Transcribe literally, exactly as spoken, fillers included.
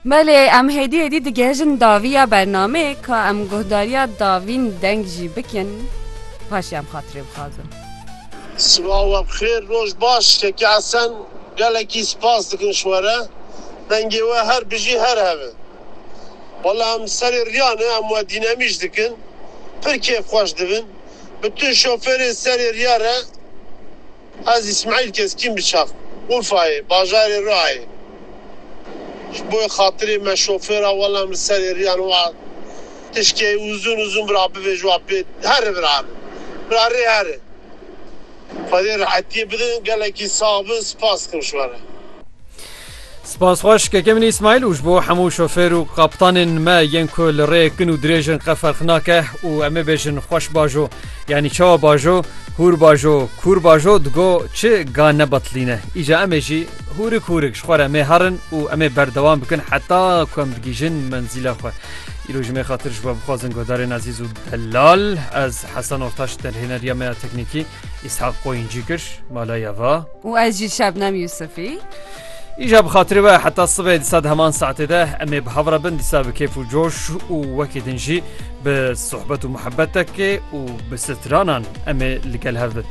Belê, em hêdî hêdî digihêjin daviya bernameyê, ka em guhdariya davîn deng jî bikin, paşê em xatirê bixwazin. Sibawa bi xêr, roj baş, Kekî Hesen, gelekî spas dikin ji we re. Dengê we her bijî, her hebe. Wela em serê riya ne, em we dînemîş dikin. Pir kêfxweş dibin. Bütün şofêrê serê riya re ez Îsmaîl Keskîn bi çav. Urfayê, bajarê Riayê. Ji bo xatirê me şofêra, wela em li serê riyan wa tişkê uzun uzun bira bibêj wa pê. Here bira. Bira rê here. Xwedê rehetiyê bidin, gelekî sax bin, spas dikim ji we re. Spas xweş, kekê min Îsmaîl, û ji bo hemû şofêr û kaptanên me yên ku li rêyek kin û dirêj in, qe ferq nake û em ê bêjin xweş bajo, yanî çawa bajo, hûr bajo, kûr bajo, digo çi ga ne betilîne. Îca em ê jî hûrik hûrik ji xwe re em ê herin û em ê berdewam bikin heta ku em digihîjin menzîla xwe. Îro ji me xatir ji we bixwazin guhdarên ezîz û delal, ez Hesen Ortaş, derhêneriya me ya teknîkî, Îshak Qoyuncî kir, mala ya va. Û ez jî Şebnem Yusufî. Îja bi xatirê we heta sibê dîsa di heman saetê de em ê bi hev re bin, dîsa bi kêf û coş û wekî din jî bi sohbet û muhebbetekê û bi stranan em ê li gel hev bin.